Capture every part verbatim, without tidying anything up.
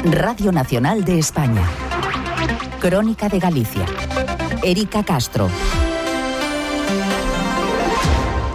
Radio Nacional de España. Crónica de Galicia. Erika Castro.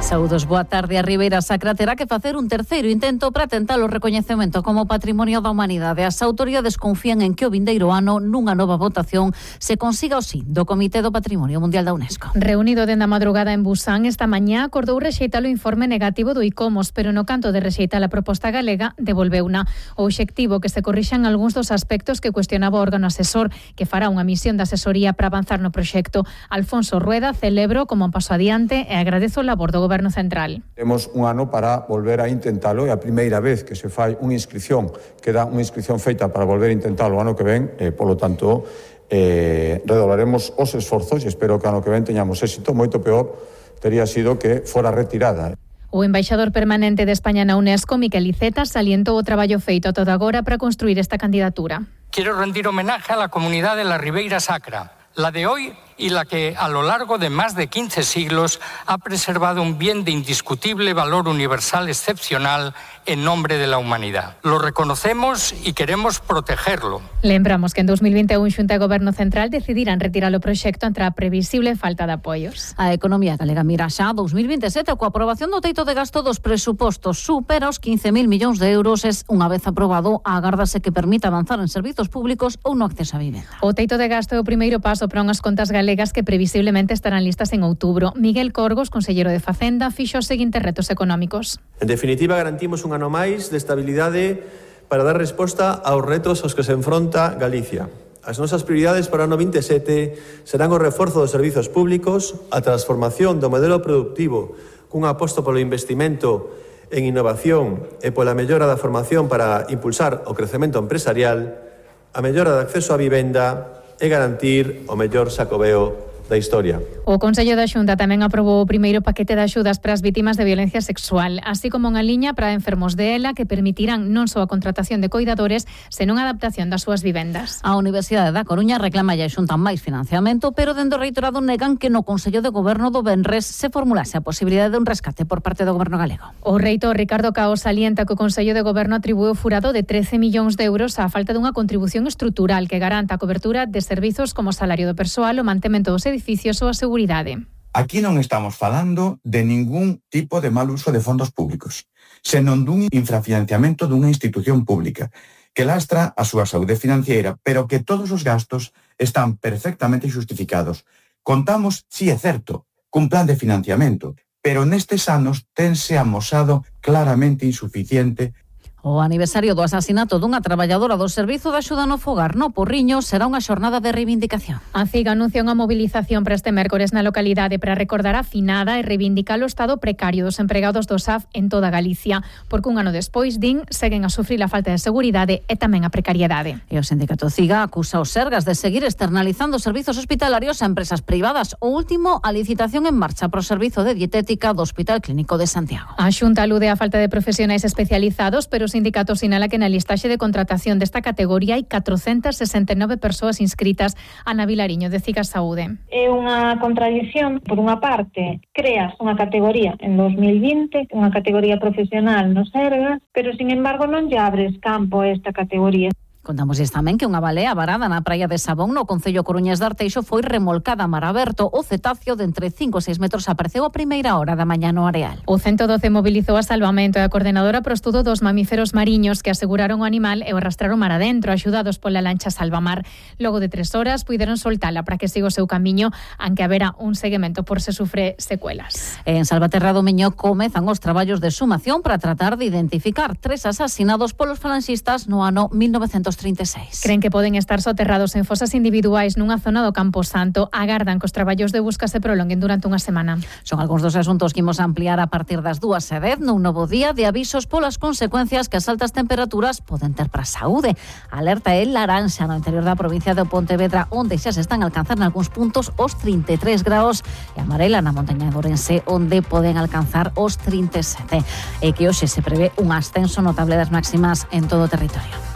Saúdos, boa tarde. A Ribeira Sacra terá que facer un terceiro intento para tentar o recoñecemento como Patrimonio da Humanidade. As autoridades confían en que o vindeiro ano, nunha nova votación, se consiga o sí do Comité do Patrimonio Mundial da UNESCO. Reunido dende a madrugada en Busan, esta mañá acordou rexeitar o informe negativo do ICOMOS, pero no canto de rexeitar a proposta galega, devolveuna. O obxectivo que se corrixan algúns dos aspectos que cuestionaba o órgano asesor, que fará unha misión de asesoría para avanzar no proxecto. Alfonso Rueda celebro como un paso adiante e agradezo o labor do Goberno Central. Temos un ano para volver a intentalo e a primeira vez que se fai unha inscripción, que dá unha inscripción feita para volver a intentalo o ano que ven, e, polo tanto, eh, redoblaremos os esforzos e espero que ano que ven teñamos éxito. Moito peor tería sido que fora retirada. O embaixador permanente de España na UNESCO, Miquel Iceta, salientou o traballo feito todo agora para construir esta candidatura. Quiero rendir homenaje a la comunidad de la Ribeira Sacra, la de hoy y la que a lo largo de más de quince siglos ha preservado un bien de indiscutible valor universal excepcional en nombre de la humanidad. Lo reconocemos y queremos protegerlo. Lembramos que en dos mil vinte e un Xunta de Goberno Central decidirán retirar o proxecto ante a previsible falta de apoios. A economía galega mira xa dos mil vinte e sete coa aprobación do teito de gasto dos presupostos supera os quince mil millóns de euros. Es unha vez aprobado, agárdase que permita avanzar en servizos públicos ou no acceso a vivenda. O teito de gasto é o primeiro paso para unhas contas galegas que previsiblemente estarán listas en outubro. Miguel Corgos, consellero de Facenda, fixo os seguintes retos económicos. En definitiva, garantimos un ano máis de estabilidade para dar resposta aos retos aos que se enfronta Galicia. As nosas prioridades para o ano vinte e sete serán o reforzo dos servizos públicos, a transformación do modelo productivo cun aposto polo investimento en innovación e pola mellora da formación para impulsar o crecemento empresarial, a mellora do acceso á vivenda e garantir o mellor Xacobeo da historia. O Consello da Xunta tamén aprobou o primeiro paquete de axudas para as vítimas de violencia sexual, así como unha liña para enfermos de ELA que permitirán non só a contratación de coidadores, senón a adaptación das súas vivendas. A Universidade da Coruña reclama a Xunta máis financiamento, pero dende o reitorado negan que no Consello de Goberno do Venres se formulase a posibilidade de un rescate por parte do Goberno galego. O reitor Ricardo Cao salienta que o Consello de Goberno atribúe o furado de trece millóns de euros á falta dunha contribución estrutural que garanta a cobertura de servizos como o salario do persoal, o mantemento dos edificios ou a seguridade. Aquí non estamos falando de ningún tipo de mal uso de fondos públicos, senón dun infrafinanciamento dunha institución pública que lastra a súa saúde financiera, pero que todos os gastos están perfectamente xustificados. Contamos, si é certo, cun plan de financiamento, pero nestes anos tense amosado claramente insuficiente. O aniversario do asasinato dunha traballadora do Servizo de Axuda no Fogar no Porriño será unha xornada de reivindicación. A C I G anuncia unha movilización para este mércores na localidade para recordar a finada e reivindicar o estado precario dos empregados do S A F en toda Galicia, porque un ano despois, din, seguen a sufrir a falta de seguridade e tamén a precariedade. E o sindicato C I G A acusa os Sergas de seguir externalizando servizos hospitalarios a empresas privadas. O último, a licitación en marcha para o servizo de dietética do Hospital Clínico de Santiago. A Xunta alude á falta de profesionais especializados, pero o sindicato sinala que na listaxe de contratación desta categoría hai catrocentas sesenta e nove persoas inscritas. Ana Vilariño, de C I G A Saúde. É unha contradición. Por unha parte, creas unha categoría en dos mil vinte, unha categoría profesional no Sergas, pero, sin embargo, non lle abres campo a esta categoría. Contamosles tamén que unha balea varada na praia de Sabón, no concello coruñés de Arteixo, foi remolcada a mar aberto. O cetáceo de entre cinco e seis metros apareceu a primeira hora da mañá no areal. O ciento doce mobilizou a salvamento e a coordenadora pro estudo dos mamíferos mariños que aseguraron o animal e o arrastraron mar adentro, axudados pola lancha Salvamar. Logo de tres horas, puideron soltala para que siga o seu camiño, aunque haberá un seguimento por se sufre secuelas. En Salvaterra do Miño comezan os traballos de sumación para tratar de identificar tres asasinados polos falanxistas no ano mil novecentos trinta e seis. Creen que poden estar soterrados en fosas individuais nunha zona do Campo Santo. Agardan que os traballos de busca se prolonguen durante unha semana. Son algúns dos asuntos que imos ampliar a partir das dúas e dez nun novo día de avisos polas consecuencias que as altas temperaturas poden ter para a saúde. Alerta é laranxa no interior da provincia de Pontevedra, onde xa se están a alcanzar nalgúns puntos os trinta e tres graus, e amarela na montaña de Ourense, onde poden alcanzar os trinta e sete. E que hoxe se prevé un ascenso notable das máximas en todo o territorio.